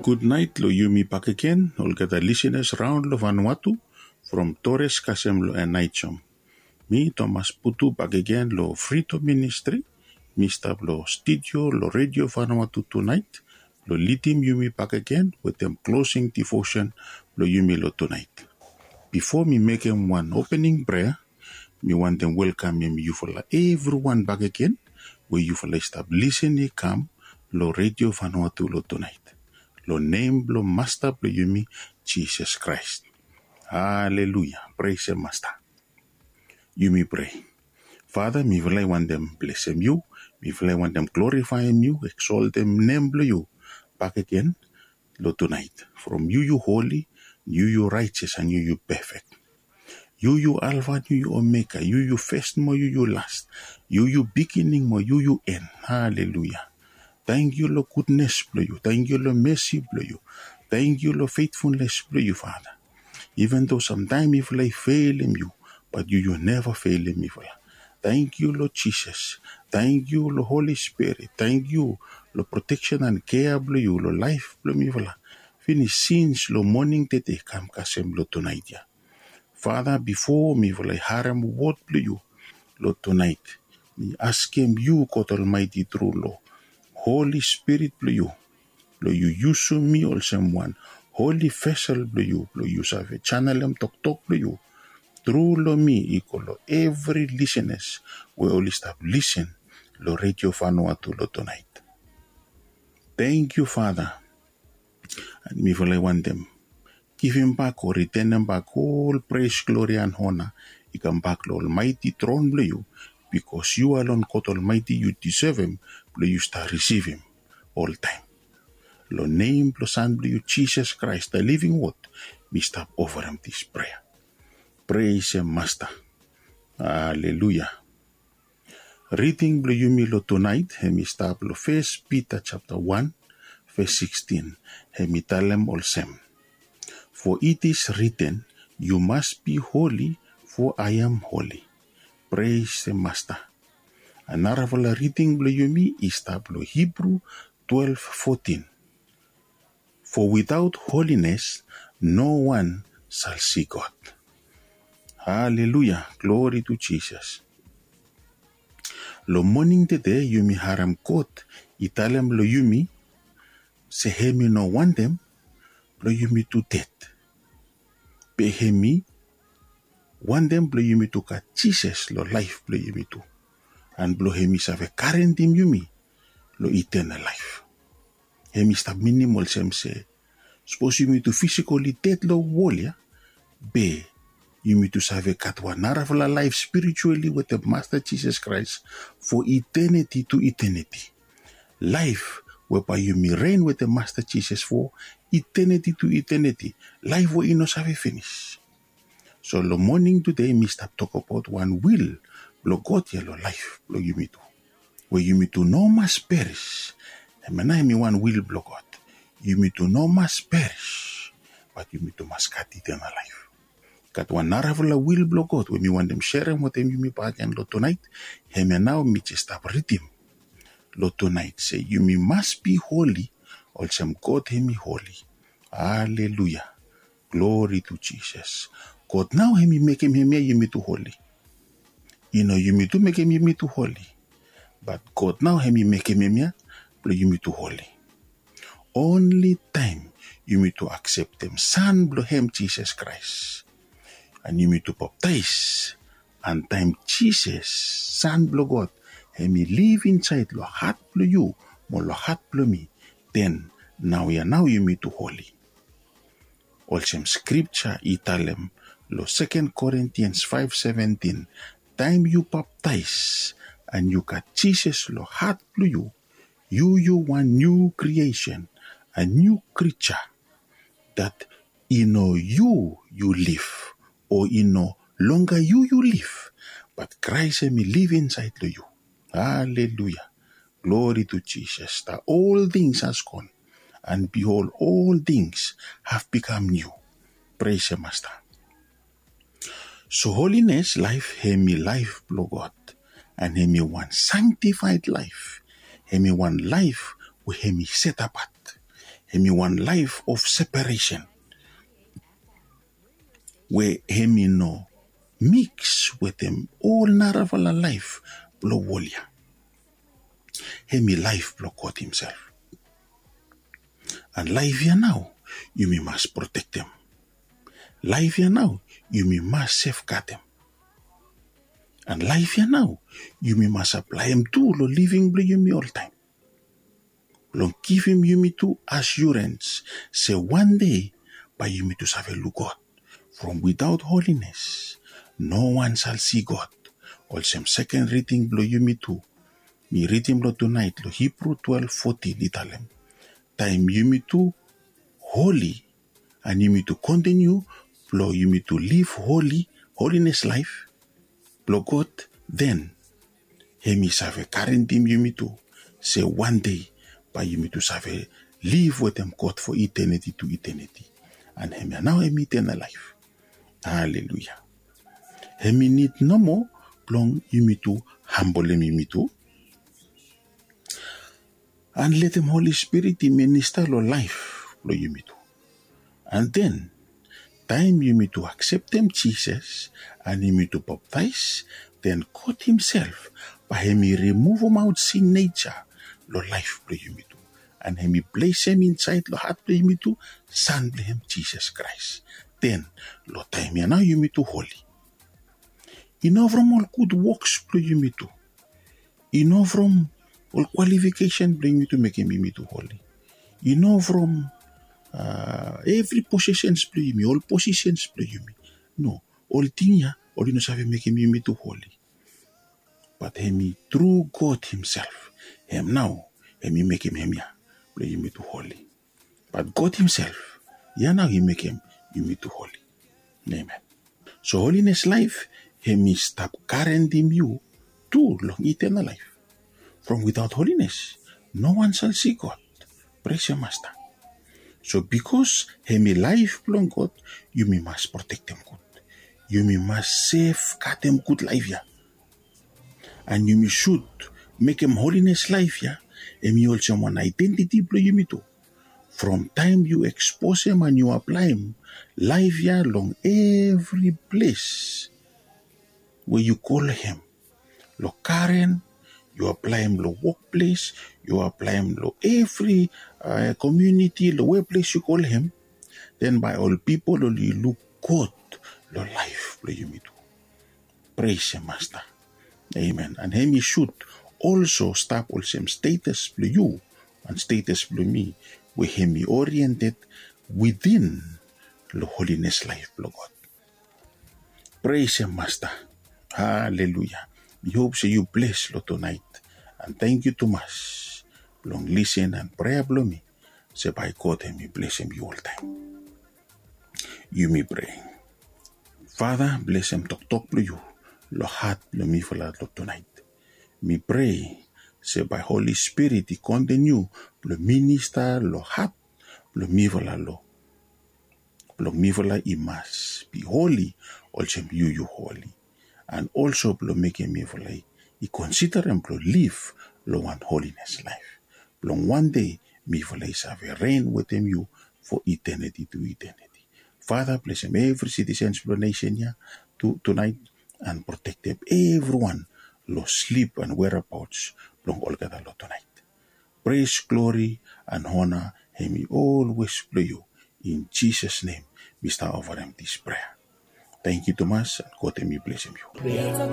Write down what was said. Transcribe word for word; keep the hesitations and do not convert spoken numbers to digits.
Gudnaet long yumi bakegen olgeta lisenas raon long Vanuatu, from Torres kasem long Anaijom. Mi Thomas Putu bakegen long Freedom Ministry. Mi stap long studio long Radio Vanuatu tunaet long lidim yumi bakegen wetem closing devotion blong yumi long tunaet. Bifo mi mekem wan opening prea, mi wantem welkamem yufala evriwan bakegen we yufala i stap lisin i kam long Radio Vanuatu long tunaet, long nem blong Masta blong yumi, Jisas Kraes. Haleluia. Pres em Masta. Yumi prea. Fada, mifala i wantem blesem yu, mifala i wantem glorifaem yu, eksoltem nem blong yu bakegen long tunaet. From yu yu holi, yu yu raejeas, and yu yu pefek. Yu yu Alfa, yu yu Omega, yu yu fes mo yu yu las, yu yu bigining mo yu yu en. Haleluia. Tankyu long gudnes blong yu, tankyu long mesi blong yu, tankyu long fetfulnes blong yu, Fada. Iven do samtaem mifala i felim yu, bat yu yu neva felim mifala. Tankyu long Jisas. Tankyu long Holi Spirit. Tankyu long proteksen and kea blong yu long laef blong mifala, finis sins long moning tede kam kasem long tunaet ya. Fada, bifo mifala i harem wod blong yu long tunaet, mi askem yu God Almaeti tru long Holi Spirit blong yu blong yu yusum mi olsem wan holi vesel blong yu blong yu save janelem toktok blong yu tru long mi i go long evri lisenas we oli stap lisin long Radio Vanuatu long tunaet. Tankyu Fada. And mifala i wantem givimbak o ritenem bak ol pres, glori and hona i kambak long Almaeti tron blong yu, bikos yu alon God Almaeti yu disevem blong yu stap risivim oltaem. Long nem blong San blong yu Jisas Kraes, the living word, mi stap ofarem dis prea. Pres em Masta. Haleluia. Riding blong yumi long tunaet hem i stap long Fes Pita japta wan, ves sikstin. Hem i talem olsem, for it is written, you must be holy, for I am holy. Pres em Masta. And narafala riding blong yumi i stap long Hibru twelve fourteen. For without holiness no one shall see God. Haleluia. Glori tu Jisas. Long moning tede yumi harem God i talem long yumi se hem i no wantem blong yumi tu ded. Be hem i wantem blong yumi tu gat Jisas long laef blong yumi tu, and blong hem i save garentem yumi long itenal laef. Hem i stap minim olsem se sapos yumi tu fisikoli ded long wol ya, be yumi tu save gat wan narafala laef spirituali wetem Masta Jisas Kraes for eternity to eternity. Laef we bae yumi ren wetem Masta Jisas for eternity to eternity. Laef we i no save finis. So long moning tede mi stap tokbaot wan wil blong God ya long laef blong yumi tu, we yumi tu no mas peris. Hemia nao hem i wan wil blong God. Yumi tu no mas peris, bat yumi tu mas gat itenal laef. Gat wan narafala wil blong God we mi wantem serem wetem yumi bakegen long tunaet. Hemia nao mi jes stap ridim long tunaet se yumi mas bi holi olsem God hem i holi. Haleluia. Glori tu Jisas. God nao hem i mekem hemia yumi tu holi. I no yumi tu mekem yumi tu holi, bat God nao hem i mekem hemia blong yumi tu holi. Onli taem yumi tu akseptem San blong hem, Jisas Kraes, and yumi tu baptaes, and taem Jisas, San blong God, hem i liv insaed long hat blong yu mo long hat blong mi, den naoia nao yumi tu holi. Olsem skripja i talem long Second Corinthians five seventeen, taem yu baptaes and yu gat Jisas long hat blong yu, yu yu wan niu kriesen, a niu krija. Dat i no yu yu liv, o i no longa yu yu liv, bat Kraes hem i liv insaed long yu. Haleluia. Glori tu Jisas. The old things has gone, and behold, all things have become new. Pres em Masta. So holines laef hem i laef blong God, and hem i wan sanktifaed laef. Hem i wan laef we hem i setapat. Hemi wan laef of separesen we hemi no miks wetem ol narafala laef blong wol ya. Hemi laef blong God himsel. An laef ya nao yumi mas protektem. Laef ya nao yumi mas sefgadem. An laef ya nao yumi mas aplaem tu long living blong yumi oltaem, blong givim yumi tu asiorens se wan dei bae yumi tu save luk God. From without holiness no one shall see God. Olsem seken riding blong yumi tu mi ridim long tunaet long Hibru twelef fotin i talem, taem yumi tu holi an yumi tu kontiniu blong yumi tu liv holi, holines laef blong God, den hemi save garantim yumi tu se wan dei bae yumi tu save liv wetem God fo iteniti tu iteniti. An hemia nao hemi itenal laef. Haleluya. Hemi nid nomo blong yumi tu hambolem yumi tu an letem Holi Spirit i minista long laef blong yumi tu. An den taem yumi tu akseptem Jisas an yumi tu baptaes, den God himsel bae hemi rimuvumaot sin neja long laef blong yumi tu, an hemi plesem insaed long hat blong yumi tu San blong hem Jisas Kraes. Den long taem ya nao yumi tu holi. I no from ol gud woks blong yumi tu. I no from ol kwalifikesen blong yumi tu mekem yumi tu holi. I no from evri posesens blong yumi, ol posesens blong yumi. No, ol ting ya oli no save mekem yumi tu holi. Bat hemi tru God himsel, hem nao hemi mekem hemia blong yumi tu holi. Bat God himsel ya nao i mekem yumi tu holi. Amen. So holines laef hemi stap garantim yu tu long itenal laef. From without holines no one shall see God. Pres hem Masta. So bikos hemi laef blong God, yumi mas protektem gud. Yumi mas sefgadem gud laef ya. An yumi sud mekem holines laef ya hemi olsem wan aedentiti blong yumi tu. From taem yu eksposem an yu aplaem laef ya long evri ples we yu go long hem, long garen, yu aplaem long wokples, yu aplaem long evri komuniti long we ples yu go long hem, den bae ol pipol oli luk God long laef blong yumi tu. Pres hem Masta. Amen. An hemi sud olso stap olsem stetas blong yu an stetas blong mi we hemi oriented witin long holines laef blong God. Pres hem Masta. Haleluya. Mi hop se yu bles long tunaet. An tangkiu tumas blong lisen an prea blong mi se bae God hemi blesem yu oltaem. Yumi prea. Fada, blesem toktok blong yu long hat blong mifala long tunaet. Mi prea se bae Holi Spirit i kontiniu blong minista long hat blong mifala long blong mifala i mas bi holi olsem yu yu holi. An olso blong mekem mifala i konsiderem blong liv long wan holines laef, blong wan dei mifala i save ren wetem yu fo iteniti tu iteniti. Fada, blesem evri sitisens blong nesen ya tu tunaet, an protektem evriwan long slip an werabaots blong olgeta long tunaet. Pres, glori an ona hemi olwes blong yu. In Jisas nem mi stap ofarem dis prea. Tangkiu tumas, an God hemi blesem yu.